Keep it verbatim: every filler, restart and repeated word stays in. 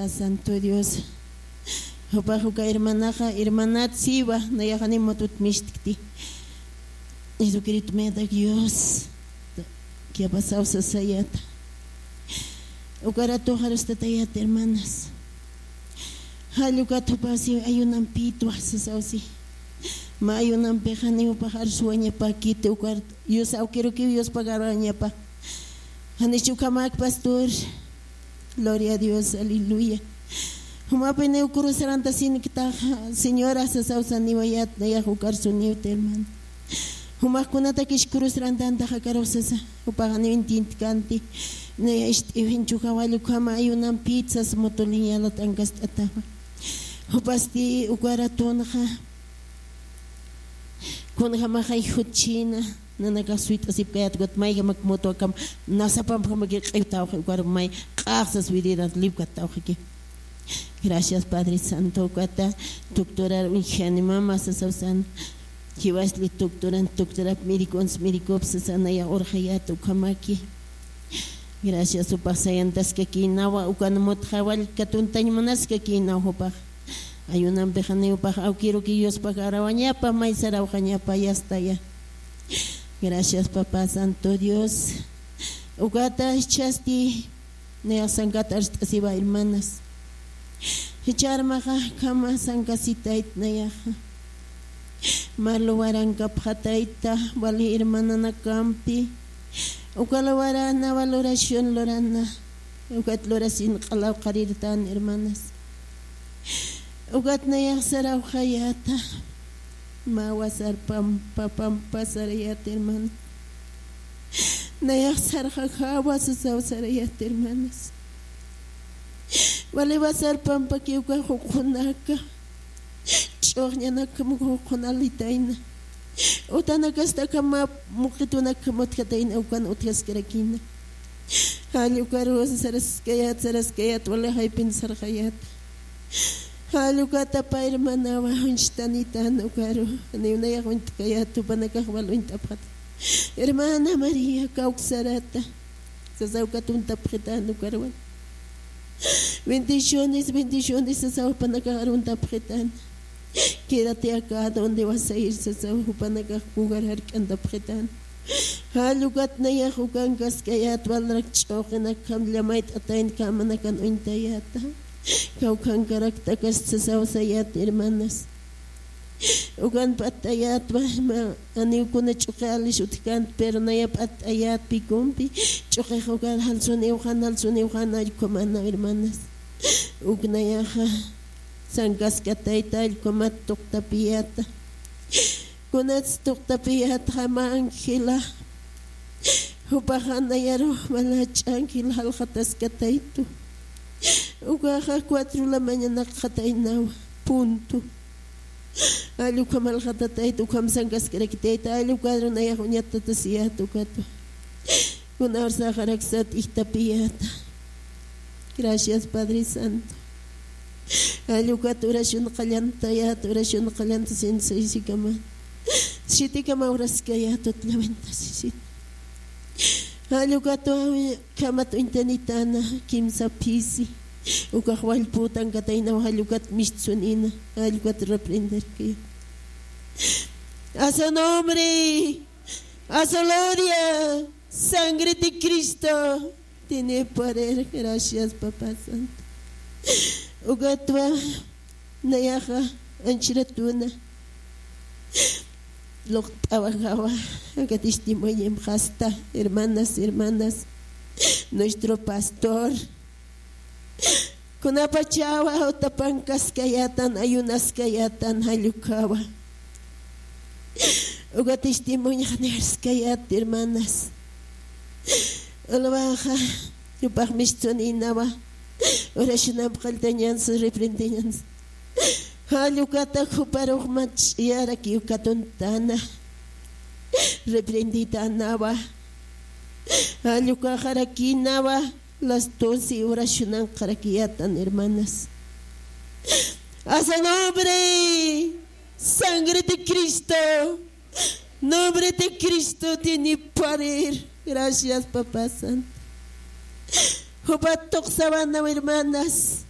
Santo Dios. Jupax uka hermanaxa, hermanat siwa, nayaxani mutut mishtkti. Jesucristo medak Dios. Kiapasaw sasayata. Uka ratuxa arustatayat, hermanas. Jall ukat jupax si ayunampïtwa sasaw si. Mä ayunampixa ni jupax arsuwañapakiti, uka Dios awkirukiw Dios pagaruwañapa. Janicha ukhamak, pastor. Gloria a Dios, aleluya. Jumapiniw cruzarantasinktax, señora, sasaw saniwayat, nayax ukar suniwta, hermano. Jumax kunatakish cruzarantanta jakarux sasa, jupax janiw intintkanti, naya ist'iwinchu jawall ukhama ayunampït sas mutuliñalat ankast'atawa. Jupasti uka ratunxa, kunjamaxay jutchina, nanakax suyt'asipkayät, ukat mayjamak mutuw akham, nasapampjamakir q'iwtawxi, ukar may q'axsas wirirant lipkattawxiki. Gracias, Padre Santo, ukata, doctorar uñjani mama sasaw san, jiwasli doctoran, doctorap mirikuns, mirikup sasa nayax urxayät ukhamaki. Gracias, jupax sayantaskakïnawa, ukan mut jawall katuntañ munaskakïnaw jupax. Ayunampixa ni jupax awkiruki Diospax arawañapa, may sarawxañapa, yastaya. Gracias, Papá Santo Dios. Ukata jichhasti nayax sankat arst'asiwa, hermanas. Jichha armaxa akhama sankasitayt nayaxa. Mä luwarankapxatayta, wali hermananakampi. Uka luwarana, wal oración lurana. Ukat lurasin q'alaw qarirtan, hermanas. Ukat nayax sarawxayäta. Mä wasar pampa, pampa sarayät, hermana. Nayax sarxajawa sasaw sarayät, hermanas. Wali wasar pampakiw uka juqunaka. Ch'uxñanakjam uka juqun alitayna. Utanakasti akham mä muqitunakjam utjatayna, ukan utjaskarakïna. Jall ukaru saraskayät, saraskayät, wali jaypin sarxayät. Jall ukata pä hermanawa, uñstanitän ukaru, janiw nayax uñt'kayät, jupanakax wal uñt'apxat. Hermana María, kawksarata. Sasaw ukat uñtapxitän ukarwan. Bendiciones, bendiciones, sasaw jupanakax aruntapxitän. Quédate acá donde vas a ir, sasaw jupanakax jugar jark'antapxitän. Jall ukat nayax ukankaskayät, walrak ch'uxinakjam llamayt'atayna, kamanakan uñtayäta. Kawkhankaraktakasti sasaw sayät, hermanas. Ukan p'att'ayätwa, mä, janiw kuna ch'uqi alis utjkänti, pero naya p'att'ayät pikumpi, ch'uqix ukan jalsuniwxan, jalsuniwxan, allkhumäna, hermanas. Uk nayaxa sankaskatayta, allkhumat tuqtapiyäta. Kunats tuqtapiyätxa mä Ángela, jupaxa nayaru mä lach'a Ángela jaljataskataytu. Ukaxa cuatro la mañanakxataynawa, punto. Jall ukham alxatatayta, ukham sankaskarakitayta, jall ukaru nayax uñatatasiyät ukatwa. Kuna ursaxaraksat ijtapiyäta. Gracias, Padre Santo. Jall ukat oración qallantayät, oración qallantasin saisikama. Sitikama uraskayät utllawintasisin. Jall ukatwa khamat uñtanitäna, kimsa phisi. Ukax wallpütankataynaw, jall ukat mistsunïna, jall ukat reprenderki. A su nombre, a su gloria, sangre de Cristo tiene poder. Gracias, Papá Santo. Ukatwa nayaxa anchhiratuna luqt'awajawa, aka testimonio jasta, hermanas, hermanas, nuestro pastor. Kunapachawa utapankaskayätan, ayunaskayätan, jall ukhawa. Uka testimonio janiw arskayät, hermanas. Ulwaxa, jupax mistsunïnawa. Oracionamp qalltañansa, reprendeñansa. Jall ukata juparux mä ch'iyarakiw katuntana. Reprenditänawa. Jall ukaxarakïnawa. Las doce oracionanqarakiyätan, hermanas. A su nombre, sangre de Cristo, nombre de Cristo tiene poder. Gracias, Papá Santo. Jupat tuqsawana, hermanas.